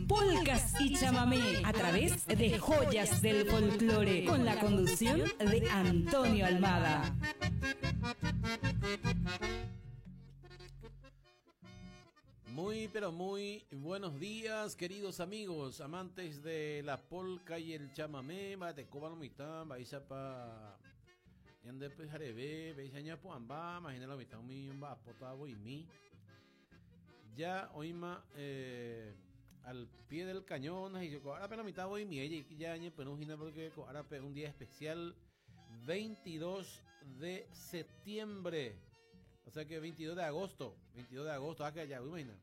Polcas y chamamé a través de Joyas del Folclore con la conducción de Antonio Almada. Muy, pero muy buenos días, queridos amigos, amantes de la polca y el chamamé, pa ñande pyhareve, péicha ñapu'ãmba, imagina la mitad umi omba'apóta voimi. Ya oĩma eh, al pie del cañón, ha ko árape la mitad voimi, ya ñepyrũ hína porque ko árape un día especial 22 de septiembre. O sea que 22 de agosto, 22 de agosto, ah que allá, imagina.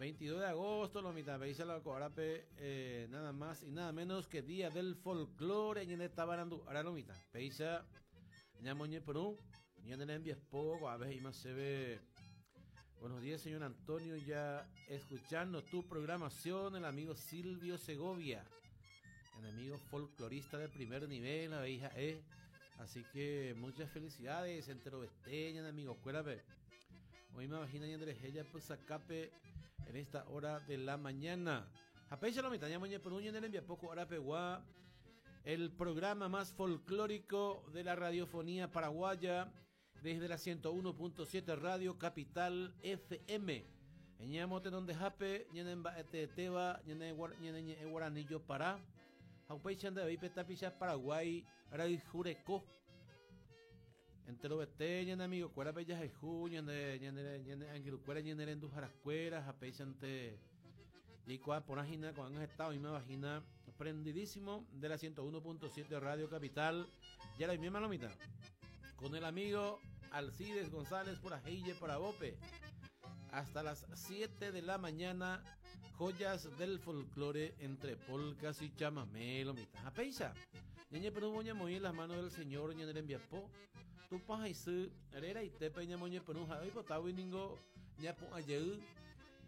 22 de agosto, lo mitad, veis la coarape, eh, nada más y nada menos que Día del Folclore, ñande tabarandu, ahora lo mitad, peisa, ñamoñe Perú, ñande envías poco, a veces y más se ve. Buenos días, señor Antonio, ya escuchando tu programación, el amigo Silvio Segovia, el amigo folclorista de primer nivel, la hija eh. Así que muchas felicidades, entero besteña, amigo, cuérape. Hoy me imagino y Andrés ella pues acape en esta hora de la mañana. Apecha lo mitad, por un envía poco hora peguá. El programa más folclórico de la radiofonía paraguaya desde la 101.7 Radio Capital FM. Eñamote donde jape, ñenen teba, ñenen guaranillo para. Jaupeicha de tapicha Paraguay, Jureco. Entero bete, ñane amigo, cuera bella jejú, ñane, ñane, ñane, angirucuera, ñane rendu jarascuera, japeichante. Y cua por con han estado, misma vagina, prendidísimo de la 101.7 Radio Capital. Ya la misma mitad. Con el amigo Alcides González por Ajeille para Bope. Hasta las 7 de la mañana, joyas del folclore entre polcas y chamamé, lo mitad. Apeisa. Ñañe pero moña moñe las manos del Señor, ñañe enviapó. Tu paja y su, herera y tepe ña moñe pero ja, y ningo, ña po ayeu,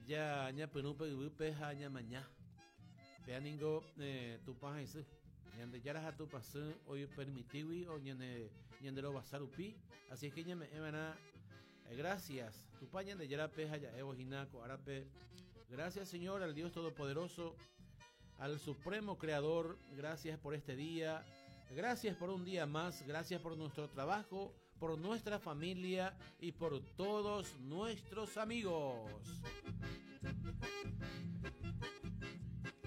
ya ña pero pe peja ña maña. Pea ningo, eh, tu paja y su. Ñande yara tu pasú, hoy permitiwi o ñande ñande lo basarupi. Así es que ña me emana gracias. Tu paña de yara peja ya evo jinaco arape. Gracias Señor al Dios Todopoderoso, al Supremo Creador. Gracias por este día. Gracias por un día más. Gracias por nuestro trabajo, por nuestra familia y por todos nuestros amigos.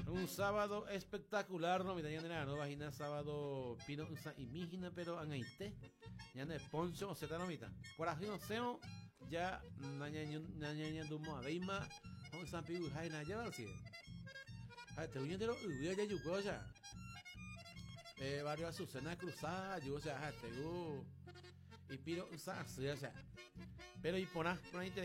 Un sábado espectacular, no mi no vagina sábado pino y mijina pero angaite. Ñane poncho o seta no mita. Corazón seo ya naña dumo abeima on san piu jaina ya va así. Ah, te uñe de lo ya yuko ya. Eh, barrio Azucena Cruzada, yo o sea, te y piro usa o sea. Pero y por ahí te